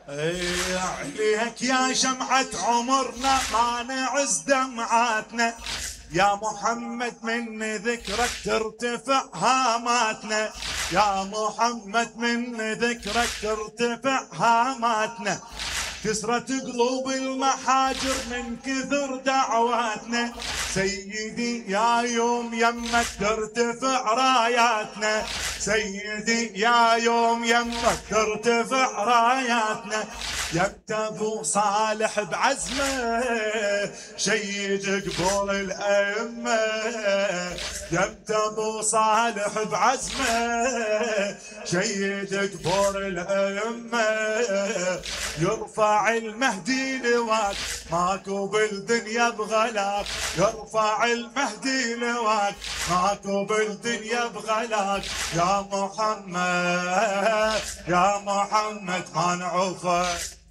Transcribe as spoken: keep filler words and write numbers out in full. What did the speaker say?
اي عليك يا شمعة عمرنا ما نعز دمعاتنا، يا محمد من ذكرك ترتفع هاماتنا، يا محمد من ذكرك ترتفع هاماتنا، كسرت قلوب المحاجر من كثر دعواتنا، سيدي يا يوم يمك ترتفع راياتنا، سيدي يا يوم يمك ترتفع راياتنا، يمت ابو صالح بعزمه شيد قبور الائمه، يمت ابو صالح بعزمه شيد قبور الائمه، يرفع المهدي لواك ماكو بالدنيا بغلاك، يرفع المهدي لواك ماكو بالدنيا بغلاك، يا محمد يا محمد ما نعوفك.